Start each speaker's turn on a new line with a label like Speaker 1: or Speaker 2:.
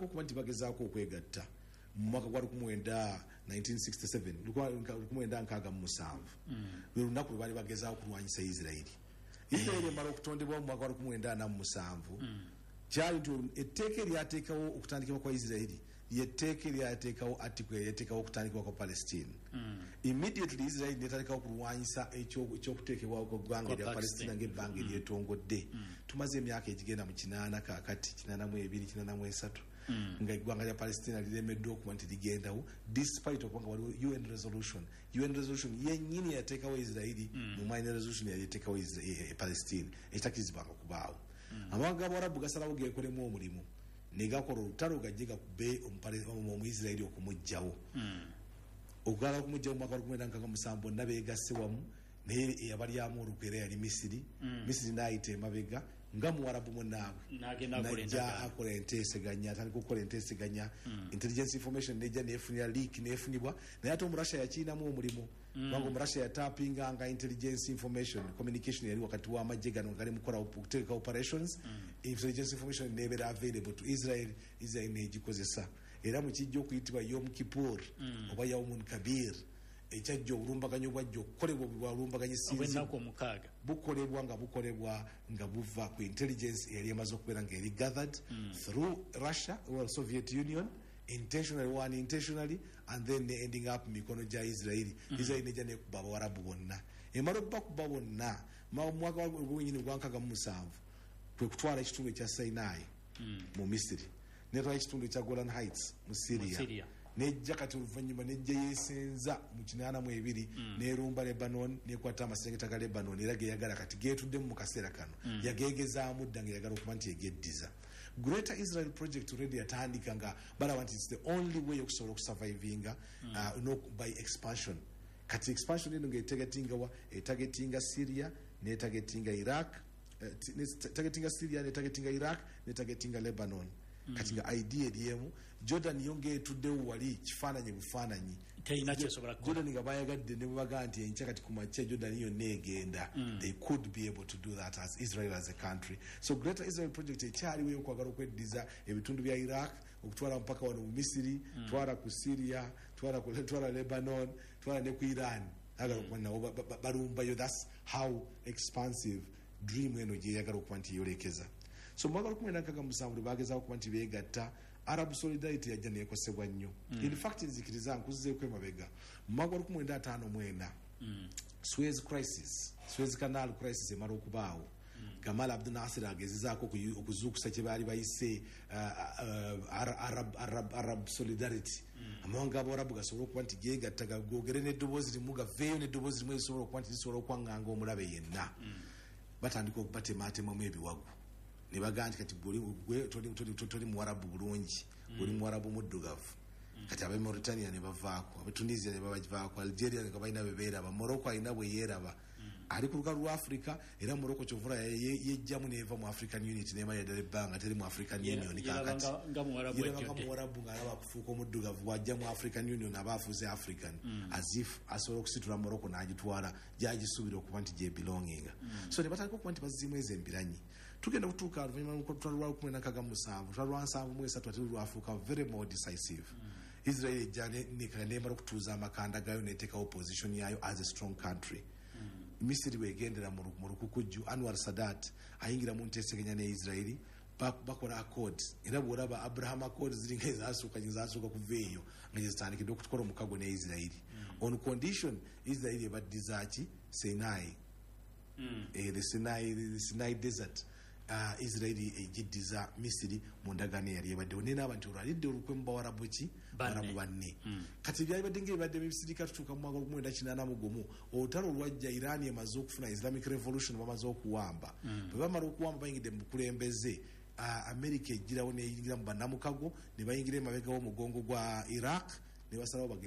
Speaker 1: Okuba nti bagezaako okwegatta mu mwaka gwa 1967, 1967, lwe lunaku lwe baali bagezaako okulwanyisa Isirairi. Isirairi emala okutondebwawo mu mwaka gwa 1947. Kyali nti etteeka eryateekawo okutandikibwa kwa Isirairi lyetteeka eryateekawo article eryateekawo okutandikibwa kwa Palestine. Immediately Israeli netandikawo okulwanyisa ekyokuteekebwawo kweggwanga erya Palestina ngaebbanga eryetongodde. Tumaze emyaka egigenda mu 80 kakati, 82, 83, nga eggwanga lya Palestina liremeddwa okuba nti ligendawo, despite okuba nga waliwo UN resolution. UN resolution yennyini yateekawo Israeli mu minor resolution yali eteekawo Palestine ekitakirizibwanga kubaawo. Amawanga g'Abawarabu gasalawo gekolemu omulimu ne gakola olutalo gajje gakube Omuisirairi okumugjawo, okugala okumugjawo. Mu mwaka wa 1967 bonna begasse wamu, naye eyabalyamu olukwe era yali Misiri. Misiri n'ayita emabega nga Muwarabu munaabwe,
Speaker 2: N'agenda akola
Speaker 1: najja
Speaker 2: endagaano.
Speaker 1: Akola enteeseganya, atandika okukola enteeseganya. Intelligence information nejja nefunira leak, nefunibwa, naye ate Omurussia yakiinamu omulimu, kubanga Omurussia yatapinganga intelligence information. Communication yali wakati w'amagye gano nga gali mukola okuteeka operations. Intelligence information nebeera available to Israel. Israel negikozesa, era mukijja okuyitibwa Yom Kippur oba Yaumun Kabir, ekyajja obulumbaganyi obwajja okukolebwa bwalumbaganyi sinzi
Speaker 2: obw'ennaku 6.
Speaker 1: Bukolebwa nga bukolebwa nga buva ku intelligence eyali emaze okubeera nga eri gathered through Russia or Soviet Union, intentionally or unintentionally, and then ne ending up mu mikono gya Israeli. Israeli nejja nekuba Abawarabu bonna. Emala okubakuba bonna mu mwaka gwenyini gwa 67, kwe kutwala ekitundu ekya Sinai mu Misiri, netwala ekitundu ekya Golan Heights mu
Speaker 2: Mu
Speaker 1: Syria.
Speaker 2: Syria.
Speaker 1: Nejja kati oluvannyuma nejja yesenza mu 82, nerumba Lebanon, nekwata amaserengeta ga Lebanon, era geyagala kati getuddemu mu kaseera kano. Yagegezaamu dda nga eyagala okuba nti egeddiza. Greater Israel project already yatandika nga balaba nti it's the only way okusobola okusurvivinga, no, by expansion. Kati expansion eno ngaetargetinga wa? Etargetinga Syria, netargetinga Iraq, targetinga Syria, netargetinga Iraq, netargetinga Lebanon. Kati nga idea eri emu. Jordan yo ngaetuddewo wali kifaananyi bufaananyi.
Speaker 2: Terina kyesobola kukola.
Speaker 1: Jordan nga bayagadde ne bwebagaa nti enkya kati kumakya Jordan yonna egenda, they could be able to do that as Israel as a country. So Greater Israel project ekyaliwo, eyokwagala okweddiza ebitundu bya Iraq, okutwala mpaka wano mu Misiri, twala ku Syria, twala Lebanon, twala ne ku Iran. Agala okuba nabo balumbayo. That's how expansive dream eno gyeyagala okuba nti yeyolekeza. So mwaka 1967 lwe bagezaako okuba nti beegatta, Arab solidarity yajja nekosebwa nnyo. In fact, nzikiriza nkuzizeeko emabega. Mu mwaka gwa 1954, Suez crisis, Suez Canal crisis emala okubaawo, Gamal Abdu Nasir agezezaako okuzuukusa kye baali bayise Arab solidarity. Amawanga g'Abawarabu gasobole okuba nti geegatta, gogere n'eddoboozi limu, gaveeyo n'eddoboozi limu erisobola okuba nti lisobola okwaŋŋanga omulabe yenna. Batandika okubatematemamu ebiwagu ne bagaa nti kati gwe toli Muwarabu bulungi, oli Muwarabu muddugavu. Kati abe Mauritania ne bavaako, abe Tunisia ne babavaako, Algeria nga balina bebeeraba, Morocco alina bwe yeeraba, ali ku lukalu lwa Africa. Era Morocco kyovula yejjamu neva mu African Unity, nemala ddala ebbanga teri mu African Union.
Speaker 2: Yeraba
Speaker 1: Kakati
Speaker 2: nga Muwarabu
Speaker 1: yeraba nga
Speaker 2: ejjudde.
Speaker 1: Muwarabu, ng'alaba kufuuka omuddugavu. Bwajja mu African Union aba afuuse African, as if asobola okusitula Morocco n'agitwala gyagisuubira okuba nti gyebelonginga. So ne batandika okuba nti bazzimu ezo embiranyi. Tugenda okutuuka oluvannyuma lw'olutalo lwa 1967, lutalo lwa 73, ate lwafuuka very more decisive. Israel ejja nemala okutuuza amakanda gayo, neteekawo position yayo as a strong country. Misiri wegendera mu lukukujju, Anwar Sadat ayingira mu nteeseganya ne Israeli, bakola accords. Era bwolaba Abraham Accords ziringa ezasooka, ezasooka kuva eyo nga gyezitandikidde okutukola omukago ne Israeli, on condition Israeli ebaddizaaki Sinai, the Sinai desert. Israeli egiddiza Misiri mu ndagaano eyali ebaddewo, nenaaba nti olwalidde olukwe mu Bawarabu ki?
Speaker 2: Banne.
Speaker 1: Bawarabu banne. Kati byalibadde ngaebibadde bibisirika. Tutuuka mu mwaka 1981, olutalo olwajja, Iran emaze okufuna Islamic Revolution, bamaze okuwamba. Bwe bamala okuwamba, bayingidde mu bukulembeze. America ejjirawo neyingira mu bannamukago, ne bayingira emabega w'omugongo gwa Iraq ne basalawo bagende.